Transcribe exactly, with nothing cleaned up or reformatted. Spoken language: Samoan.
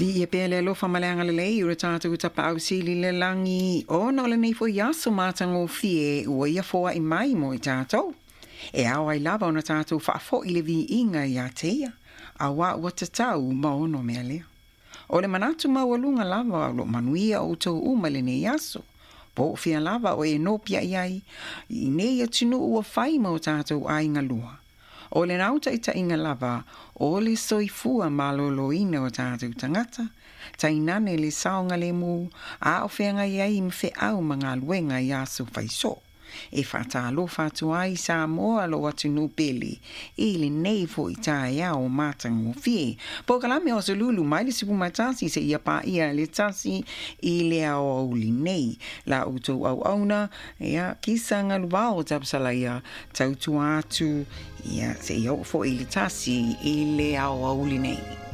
Viia pea le alofa ma le agalelei o le tatou Tapaau Sili i le lagi, ona o lenei foi aso matagofie ua ia foai mai mo i tatou. E ao ai lava ona tatou faafoi le viiga ia te ia, auā ua tatau ma ono mea lea. O le manatu maualuga lava o lo manuia outou uma i lenei aso. Po o fea lava o e nopiai ai, i nei atunuu ua fai ma o tatou aiga lua. O le nautaitaiga lava o le soifua malōlōina o tatou tagata, tainane le saogalēmū, a o feagai ai ma feau ma galuega i aso faisoo. E faatalofa atu ai Samoa lou atunuu pele i lenei foi taeao matagofie. Polokalame o Aso Lulu mai le sefulumatasi seia paia le tasi i le aoauli nei. La outou auauna, ia, Kisa Galuvao Tapasalaia, tautua atu, ia, seia oo foi le tasi i le aoauli nei.